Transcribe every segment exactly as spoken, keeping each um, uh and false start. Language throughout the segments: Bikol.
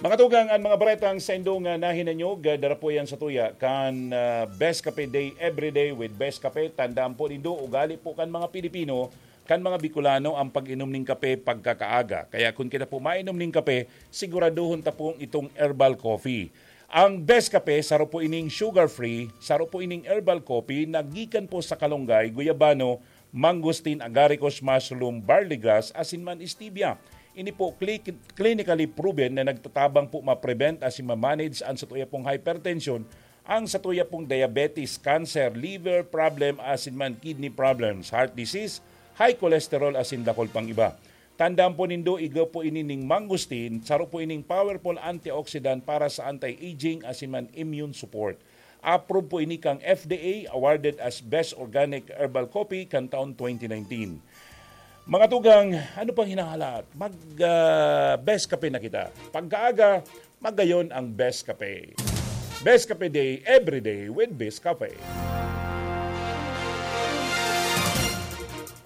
Mga tugang, an mga baretang saindong, ah, nahinanyog, ah, dara po yan sa tuya kan, ah, Best Cafe Day, every day with Best Cafe. Tandaan po nindo, ugali po kan mga Pilipino, kan mga Bicolano ang pag-inom ning kape pagkakaaga. Kaya kun kita po mainom ning kape, siguraduhon ta pong itong herbal coffee. Ang Best Cafe, saro po ining sugar-free, saro po ining herbal coffee na gikan po sa kalunggay, guyabano, mangosteen, agaricus, mushroom, barley grass, asin man stevia. Ini po cli-, clinically proven na nagtatabang po ma-prevent asin ma-manage ang satuya pong hypertension, ang satuya pong diabetes, cancer, liver problem, asin man kidney problems, heart disease, high cholesterol, asin dakul pang iba. Tandaan po nindo, igwa po ini ning mangosteen, saro po ining powerful antioxidant para sa anti-aging asin man immune support. Approve po ini kan F D A, awarded as Best Organic Herbal Coffee kan taon twenty nineteen. Mga tugang, ano pang hinahalaat? Mag, ah, Best Kape na kita. Pagkaaga, magayon ang Best Kape. Best Kape Day, every day with Best Kape.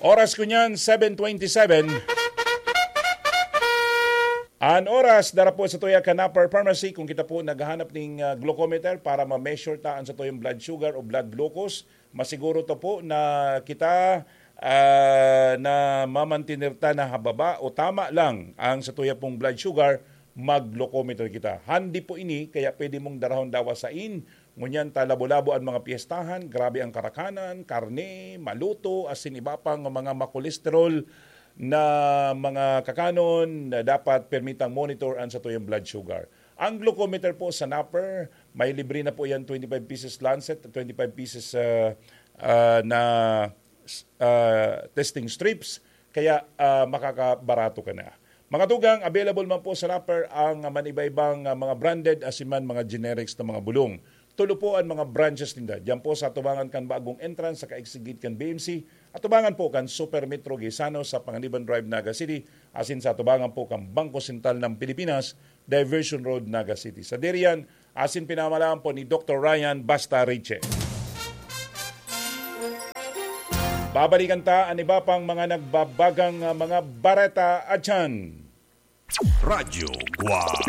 Oras ko niyan, seven twenty-seven. An oras, dara po sa tuya kan Upper Pharmacy. Kung kita po naghahanap ning, ah, glucometer para ma-measure ta an satuyang blood sugar o blood glucose, masiguro to po na kita, ah, na mamantener ta na hababa o tama lang ang satuya pong blood sugar, mag-glucometer kita. Handi po ini, kaya pwede mong darahon dawa sain. Ngunyan ta labo-labo an mga piyestahan, grabe ang karakanan, karne, maluto, asin iba pang mga makolesterol na mga kakanon na dapat permitang monitor ang satuyang blood sugar. Ang glucometer po sa Napper, may libre na po yan, twenty-five pieces lancet, twenty-five pieces, ah, ah, na, ah, testing strips, kaya, ah, makakabarato ka na. Mga tugang, available man po sa Napper ang maniba-ibang, ah, mga branded asin man mga generics na mga bulong. Tulo po an mga branches ninda. Diyan po sa atubangan kan bagong entrance sa kaigsigit kan B M C, atubangan po kan Super Metro Gaisano sa Panganiban Drive, Naga City, asin sa atubangan po kan Bangko Sentral ng Pilipinas, Diversion Road, Naga City. Sa diriyan, asin pinamalaan po ni Doktor Ryan Basta Riche. Babalikan ta an iba pang mga nagbabagang, ah, mga bareta atyan. Radyo Guwang.